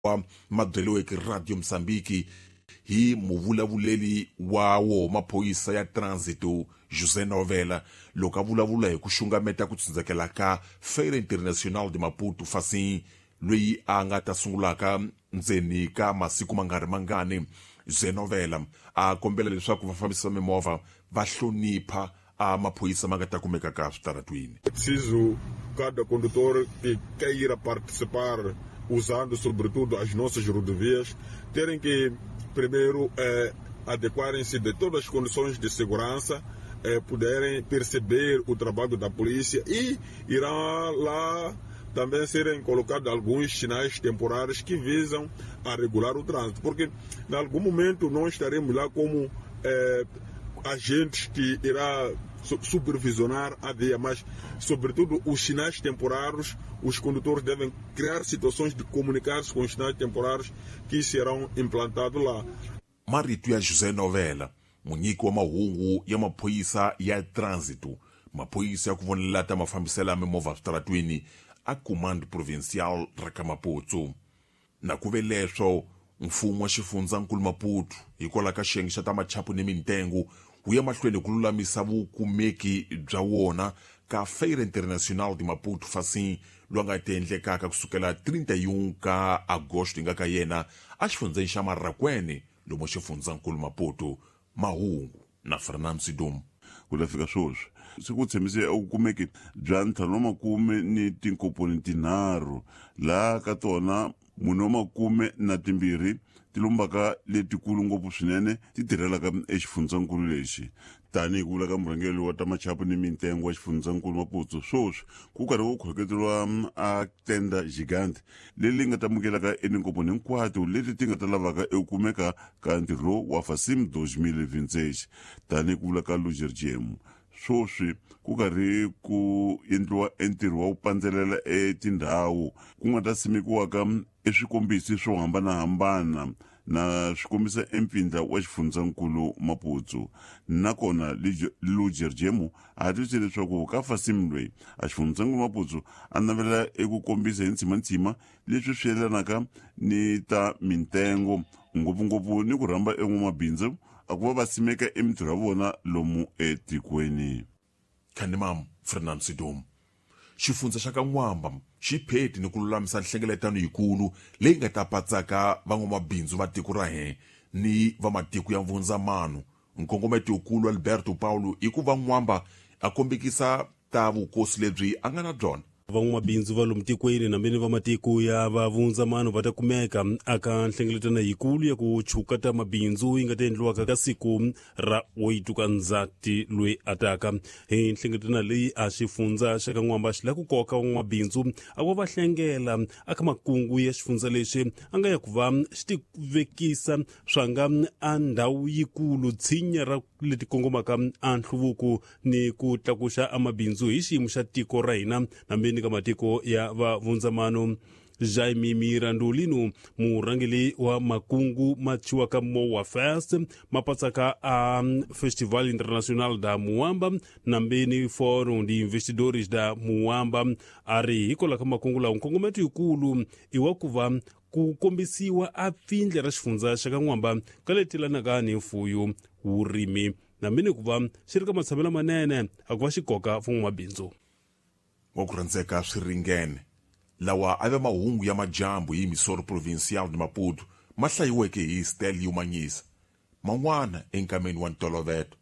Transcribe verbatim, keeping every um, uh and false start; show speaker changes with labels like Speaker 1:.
Speaker 1: Ma byeriweke Radio Mozambique hi muvulavuleli wa wo maphorisa ya Trânsito, José Novela, loko a vulavula hi ku xungameta ku tsundzakela ka Feira Internacional de Maputo Facim, loyi a nga ta sungulaka ndzeni ka masiku ma nga ri mangani. José Novela a kombela leswaku vafambisi va mimovha va hlonipha a maphorisa ma nga ta kumeka ka switaratwini.
Speaker 2: Preciso cada condutor que queira participar usando sobretudo as nossas rodovias terem que primeiro eh, adequarem-se de todas as condições de segurança, eh, poderem perceber o trabalho da polícia e irá lá também serem colocados alguns sinais temporários que visam a regular o trânsito, porque em algum momento nós estaremos lá como eh, agentes que irá supervisionar a via, mas sobretudo os sinais temporários, os condutores devem criar situações de comunicar-se com os sinais temporários que serão implantados lá.
Speaker 1: Marito ya José Novela, munyiki wa mahungu ya maphorisa ya trânsito, maphorisa ya ku vonela ta mafambiselo ya mimovha switaratwini a Comando Provincial ra ka Maputo. Na ku ve leswo, mfumo wa xifundzankulu Maputo hikwalaho ka xiyenge xa ta machapu ni mintengo wu ya mahlweni ku lulamisa vukumeki bya wona ka Feira Internacional de Maputo Facim, lowu nga ti endlekaka kusukela trinta e um ka agosto hi nga ka yena exifundzeni xa Marracuene, lomu xifundzankulu Maputo. Mahungu na Fernando Sidum.
Speaker 3: Ku ta fika sweswi se ku tshembise vukumeki bya ntlhanu wa makume ni tinkomponi tinharhu, laha ka tona mune wa makume na timbirhi ti lombaka letikulu ngopfu swinene ti tirhelaka exifundzankulu lexi. Tanihi ku vula ka murhangeri wa ta machapu ni mintengo wa xifundzankulu Maputo, sweswi ku karhi ku khoketeriwa a tenda gigante leri nga ta amukelaka etinkomponi hinkwato leti ti nga ta lavaka eku kumeka ka ntirho lowu wa Facim twenty twenty-six. Tanihi ku vula ka Luger G M, sweswi ku karhi ku endliwa entirho wa ku pandzelela etindhawu ku nga ta simekiwaka eswikombisi swo hambanahambana na swi kombisa empfindla wa xifundzankulu Maputo. Nakona Luger Jemo a twisise leswaku ka Facim loyi a xifundzankulu Maputo a navela eku kombisa hi ntsimantsima leswi swi yelanaka ni ta mintengo, ngopfungopfu ni ku rhamba en'wamabindzu a ku va va simeka emintirho ya vona lomu etikweni.
Speaker 1: Khanimam Fernando Sidom. Xifundza xa ka N'wamba xi pheti ni ku lulamisa nhlengeletano yikulu leyi nga ta patsaka van'wamabindzu va tiko ra hina ni va matiko ya vundzamano. Nkongometo wukulu Alberto Paulo i ku va N'wamba a kombekisa ta vukosi lebyi a nga na byona.
Speaker 4: Van'wamabindzu va lomu tikweni nambeni va matiko ya va vundzamano va ta kumeka aka nhlengeletano yikulu ya ku chuka ta mabindzu yi nga ta endliwaka ka siku ra oito ka Ndzati loyi ataka. Hi nhlengeletano leyi a xifundza xa ka N'wamba xi lava ku koka van'wamabindzu a ku va hlengela aka makungu ya xifundza lexi a nga ya ku va xi ti vekisa swanga a ndhawu yikulu tshinya ra leti kongomaka a nhluvuko ni ku tlakuxa a mabindzu hi xiyimo xa tiko ra hina nambeni ka matiko ya va vundzamano. Jaime Mirandolino, murhangeri wa makungu ma thyiwaka Moa Fest, ma patsaka a Festival Internacional da Muamba nambeni Forum de Investidores da Muamba, a ri hikwalaho ka makungu lawa nkongometo yikulu i wa ku va ku kombisiwa a pfindle ra xifundza xa ka N'wamba ka leti lanaka ni mfuyo, vurimi nambeni ku va xi ri ka matshamelo manene a ku va xi koka van'wamabindzu.
Speaker 1: Wa ku rhandzeka, swi ringene. Lawa a ve mahungu ya majambu hi Emissora Provincial de Maputo, ma hlayiweke hi Stelio Manyisa. Man'wana enkameni wa ntolovelo.